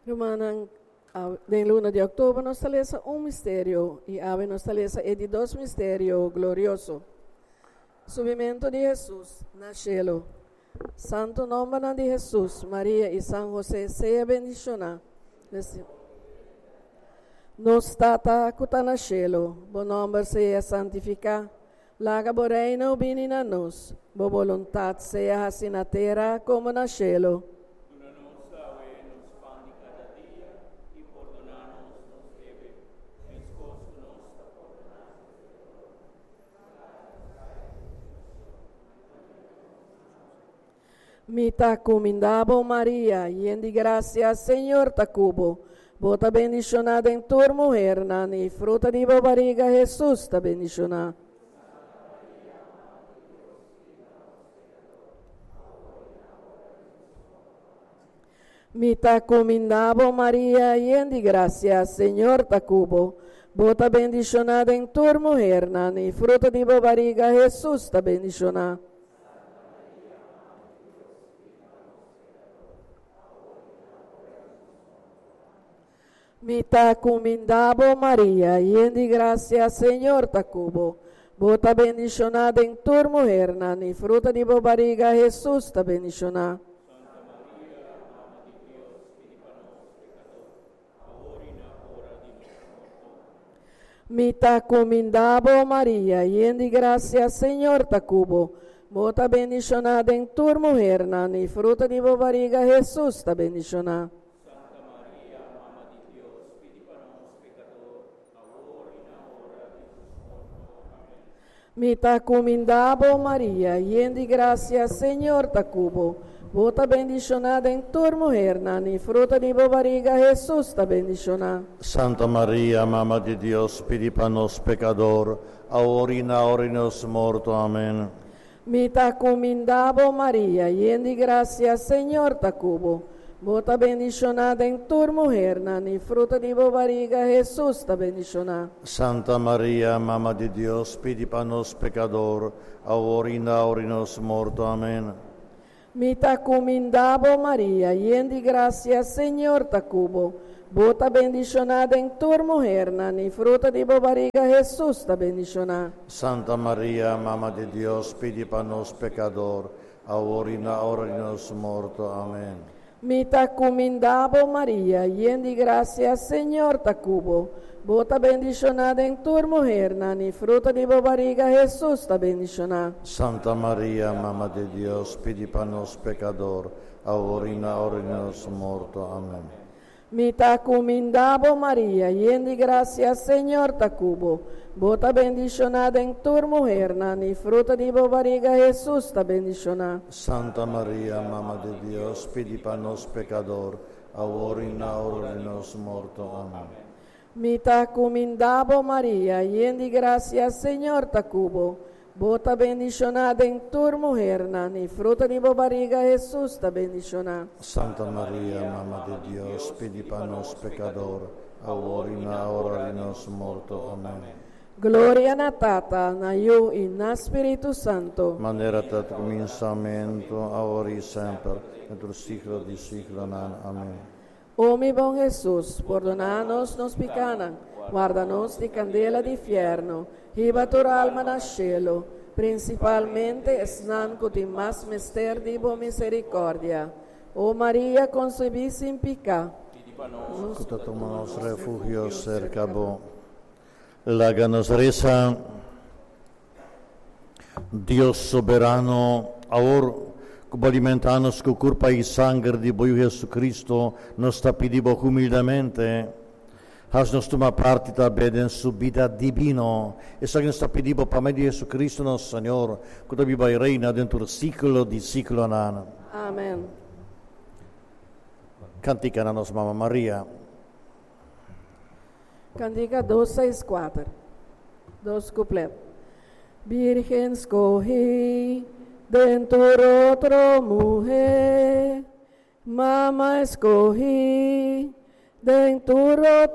Rumannan, den luna di òktober nos ta lesa un misterio i awe nos ta lesa e di dos misterio glorioso, Subimentu di Hesus na shelu. Santu nòmbernan di Hesus, Maria i San Hosé sea bendishoná. Nos Tata ku ta na shelu, bo nòmber sea santifiká. Laga bo Reino bini na nos. Bo boluntat sea hasi na tera komo na shelu. Duna nos awe nos pan di kada dia, i pordoná nos nos debe, meskos ku nos ta pordoná nos deudornan. Mi ta kumindá bo, Maria, yen di grasia, Señor ta ku bo. Bo ta bendishoná den tur muhernan, i fruta di bo bariga, Hesus, ta bendishoná. Mi ta kumindá bo, Maria, yen di grasia, Señor ta ku bo. Bo ta bendishoná den tur muhernan, i fruta di bo bariga, Hesus, ta bendishoná. Mi ta kumindá bo, Maria, yen di grasia, Señor ta ku bo. Bo ta bendishoná den tur muhernan, i fruta di bo bariga, Hesus, ta bendishoná. Santa Maria, Mama di Dios, pidi pa nos pekador, awor i na ora di nos morto. Mi ta kumindá bo, Maria, yen di grasia, Señor ta ku bo. Bo ta bendishoná den tur muhernan, i fruta di bo bariga, Hesus, ta bendishoná. Santa Maria, Mama di Dios, pidi pa nos pekador, awor i na ora di nos morto. Amèn. Mi ta kumindá bo, Maria, yen di grasia, Señor ta ku bo. Bo ta bendishoná den tur muhernan, i fruta di bo bariga, Hesus, ta bendishoná. Santa Maria, Mama di Dios, pidi pa nos pekador, awor i na ora di nos morto. Amèn. Mi ta kumindá bo, Maria, yen di grasia, Señor ta ku bo. Bo ta bendishoná den tur muhernan, i fruta di bo bariga, Hesus, ta bendishoná. Santa Maria, Mama di Dios, pidi pa nos pekador, awor i na ora di nos morto. Amèn. Mi ta kumindá bo, Maria, yen di grasia, Señor ta ku bo. Bo ta bendishoná den tur muhernan, i fruta di bo bariga, Hesus, ta bendishoná. Santa Maria, Mama di Dios, pidi pa nos pekador, awor i na ora di nos morto. Amèn. Mi ta kumindá bo, Maria, yen di grasia, Señor ta ku bo. Bo ta bendishoná den tur muhernan, i fruta di bo bariga, Hesus, ta bendishoná. Santa Maria, Mama di Dios, pidi pa nos pekador, awor i na ora di nos morto. Amèn. Mi ta kumindá bo, Maria, yen di grasia, Señor ta ku bo. Bo ta bendishoná den tur muhernan, i fruta di bo bariga, Hesus, ta bendishoná. Santa Maria, Mama di Dios, pidi pa nos pekador, awor i na ora di nos morto. Amèn. Mi ta kumindá bo, Maria, yen di grasia, Señor ta ku bo. Bo ta bendishoná den tur muhernan, i fruta di bo bariga, Hesus, ta bendishoná. Santa Maria, Mama di Dios, pidi pa nos pekador, awor i na ora di nos morto. Amèn. Gloria na Tata, na Yu i na Spiritu Santu. Manera ta kuminsamentu, awor i semper, den tur siglo di siglonan. Amèn. O mi bon Hesus, pordoná nos nos pikánan, warda nos di kandela di fièrnu, hiba tur alma na shelu, prinsipalmente esnan ku tin mas mester di bo miserikòrdia. O Maria konsebí sin piká, Pidi pa nos Ku ta tuma nos refugio serka bo. Laga nos resa. Dios soberano, awor ku bo alimentá nos ku kurpa i sanger di bo Yu Jesucristo, nos ta pidi bo humildemente, has nos tuma parti tambe den su bida dibino. Esaki nos ta pidi bo pa medio di Jesucristo nos Señor, ku ta biba i reina den tur siglo di siglonan. Amen. Kantika na nos Mama Maria. Kantika 264, dos kuplet. Virgen skohí den tur otro muhé, Mama skohí den tur otro.